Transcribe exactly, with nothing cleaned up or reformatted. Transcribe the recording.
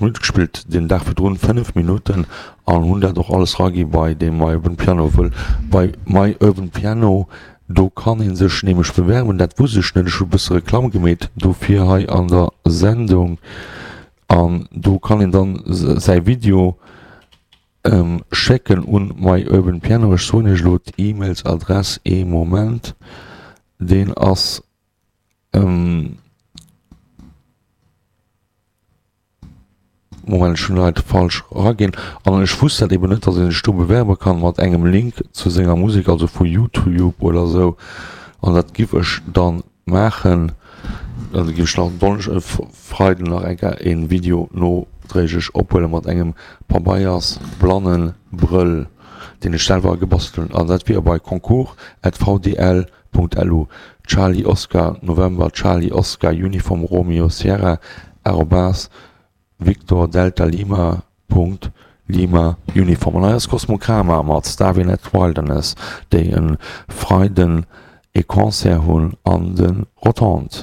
fënnefenzwanzeg Minutte gespillt, den Dag virdrun fënnef Minutten an hunn dat och alles ragi bei deem My Urban Piano, wëll bei My Urban Piano do kann ee sech nämlech bewerben, dat wusst ech net, ech hu e bësse Reklamm gemeet dofir hei an der Sendung an do kann een dann säi Video schécken un My Urban Piano. Ech soen iech elo d'E-Mails-Adress, ee Moment, deen ass. Moment, ech hunn hei falsch eraginn. An ech wusst dat eben net, dass ee sech do bewerbe kann mat engem Link zu senger Musek, also vu YouTube oder esou. An dat giff ech dann maachen. Also giff ech nach Donnesch Freiden nach eng Kéier een Video nodréiglech ophuelen mat engem Pabeiers Blannenbrëll, deen ech selwer gebastelt hunn. An dat wier bei concours at vdl Punkt lu, Charlie Oscar November Charlie Oscar Uniform Romeo Sierra arobas Victor Delta Lima Punkt Lima Uniform. An hei ass Cosmocrama mat Starvin at Wilderness, déi e Freiden e Concert hunn an de Rotondes.